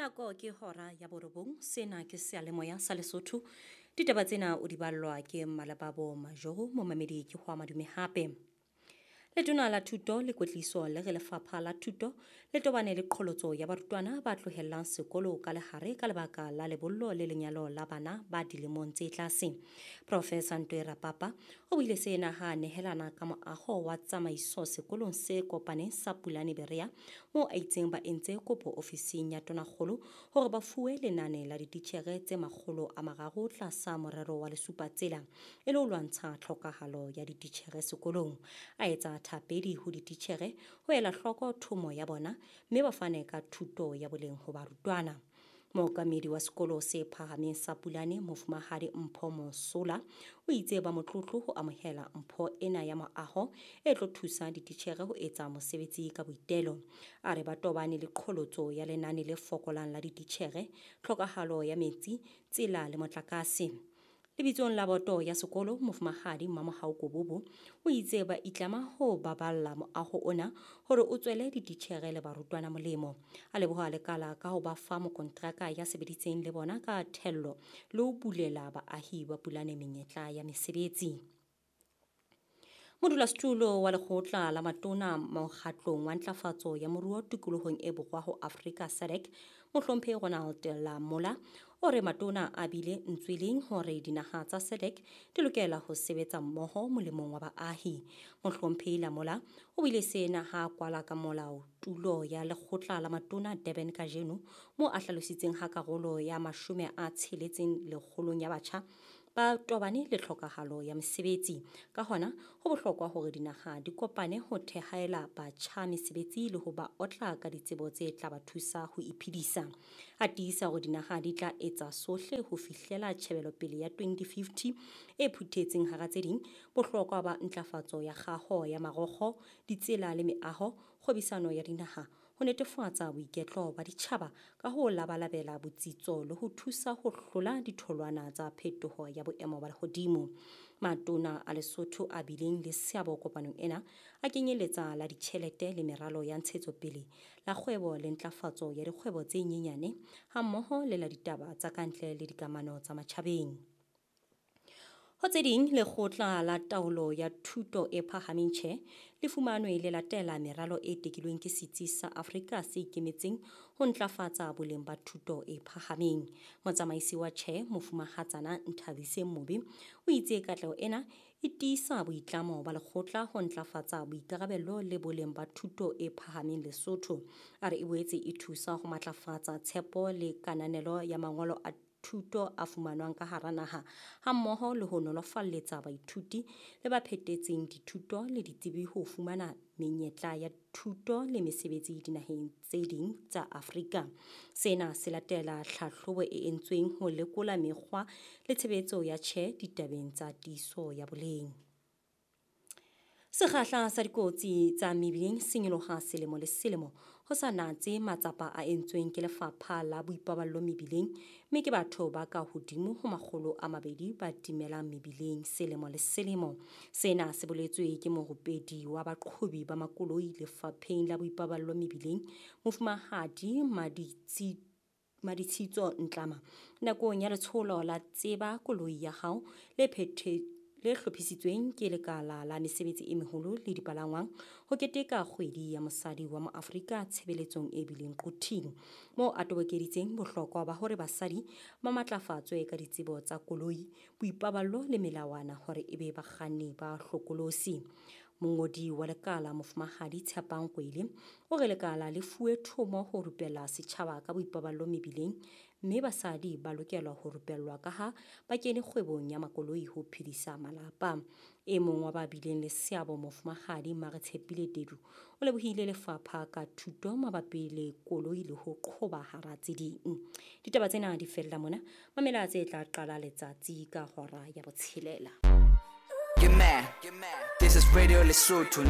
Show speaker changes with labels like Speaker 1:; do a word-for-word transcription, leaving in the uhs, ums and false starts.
Speaker 1: Nako ke hora ya borobong, sena ke seyalemoya sa Lesotho. Ditaba tsena o di ballwa ke Mmalebabo Majoro, momamedi ke ho madume hape. Letona la thuto le kwetliso le re lefapha la thuto le tobane le qholotso ya barutwana ba tlohellang sekolo ka lehare ka lebaka la lebollo le lenyalo la bana ba dilemong tse tlase. Professor Ntwe Rapapa o buile sena ha nehelana ka moaho wa tsamaiso sekolong se kopaneng sa Pulane Berea, moo a itseng ba entse kopo ofising ya Tonakgolo hore ba fuwe lenane la dititjhere tse makgolo a mararo tlasa morero wa Lesupatsela e le ho lwantsha tlhokahalo ya dititjhere sekolong. A etsa thapedi ho dititjhere ho ela hloko thomo ya bona mme ba fane ka thuto ya boleng ho barutwana. Mookamedi wa sekolo se phahameng sa Pulane, Mofumahadi Mpho Mosola, o itse ba motlotlo ho amohela mpho ena ya moaho e tlo thusa dititjhere ho etsa mosebetsi ka boitelo. A re ba tobane le qholotso ya lenane le fokolang la dititjhere, tlhokahalo ya metsi, tsela le motlakase. Lebitsong la boto ya sekolo, Mofumahadi Mmamohau Kobobo o itse ba itlama ho baballa moaho ona hore o tswele dititjhere le barutwana molemo. A leboha lekala ka ho ba fa mokontraka ya sebeditseng le bona ka thello le ho bulela baahi ba Pulane menyetla ya mesebetsi. Modulasetulo wa lekgotla la matona mokgatlong wa ntlafatso ya moruo tikolohong e borwa ho Afrika SADC, Mohlomphehi Ronald Lamola, o re matona a bile ntsweleng hore dinaha tsa SADC di lokela ho sebetsa mmoho molemong wa baahi. Mohlomphehi Lamola o buile sena ha kwala ka molao tulo ya lekgotla la matona Durban kajeno, moo a hlalositseng ha karolo ya mashome a tsheletseng lekgolong ya batjha ba tobane le tlhokahalo ya mesebetsi. Ka hona, ho bohlokwa hore dinaha di kopane ho thehaela batjha mesebetsi le ho ba otla ka ditsebo tse tla ba thusa ho iphedisa. A tiisa hore dinaha di tla etsa sohle ho fihlela tjhebelopele ya twenty fifty e phuthetseng hara tse ding bohlokwa ba ntlafatso ya kgaho ya marokgo, ditsela le meaho, kgwebisano ya dinaha, ho netefatsa boiketlo ba ditjhaba ka ho labalabela botsitso le ho thusa ho hlola ditholwana tsa phetoho ya boemo ba lehodimo. Matona a Lesotho a bileng le seabo kopanong ena a kenyeletsa la ditjhelete le meralo ya ntshetsopele, la kgwebo le ntlafatso ya dikgwebo tse nyenyane, hammoho le la ditaba tsa kantle le dikamano tsa matjhabeng. Ho tse ding, lekgotla la taolo ya thuto e phahameng tjhe le fumanwe le latela meralo e tekilweng ke setsi sa Afrika se ikemetseng ho ntlafatsa boleng ba thuto e phahameng. Motsamaisi wa tjhe, Mofumahatsana Nthabiseng Mobe, o itse katleho ena e tiisa boitlamo ba lekgotla ho ntlafatsa boikarabello le boleng ba thuto e phahameng Lesotho. A re e boetse e thusa ho matlafatsa tshepo le kananelo ya mangolo a thuto a fumanwang ka hara naha, hammoho le ho nolofalletsa baithuti le ba phetetseng dithuto le ditsebi ho fumana menyetla ya thuto le mesebetsi dinaheng tse ding tsa Afrika. Sena se latela tlhahlobo e entsweng ho lekola mekgwa le tshebetso ya tjhe ditabeng tsa tiiso ya boleng. Sekgahla sa dikotsi tsa mebileng se nyoloha selemo le selemo ho sa natse matsapa a entsweng ke lefapha la boipaballo mebileng, mme ke batho ba ka hodimo ho makgolo a mabedi ba timelang mebileng selemo le selemo. Sena se boletswe ke morupedi wa baqhobi ba makoloi lefapheng la boipaballo mebileng, Mofumahadi Maditsi Maditsitso Ntlama, nakong ya letsholo la Tseba Koloi ya Hao le phethe le hlophisitsweng ke lekala la mesebetsi e meholo le dipalangwang ho keteka kgwedi ya mosadi wa Moafrika tshebeletsong e bileng Quthing, moo a tobokeditseng bohlokwa ba hore basadi ba matlafatswe ka ditsebo tsa koloi, boipaballo le melawana hore e be bakganni ba hlokolosi. Mongodi wa lekala Mofumahadi Tshepang Kwele o re lekala le fuwe thomo ho rupella setjhaba ka boipaballo mebileng, mme basadi ba lokelwa ho rupellwa ka ha ba kene kgwebong ya makoloi ho phedisa malapa. E mong wa ba bileng le seabo Mofumahadi Maretshepile Tedu o lebohile lefapha ka thuto mabapi le koloi le ho qhoba hara tse ding. Ditaba tsena di fella mona, mamela tse tla qala letsatsi ka hora ya botshelela.
Speaker 2: Get mad. This is Radio Lesotho.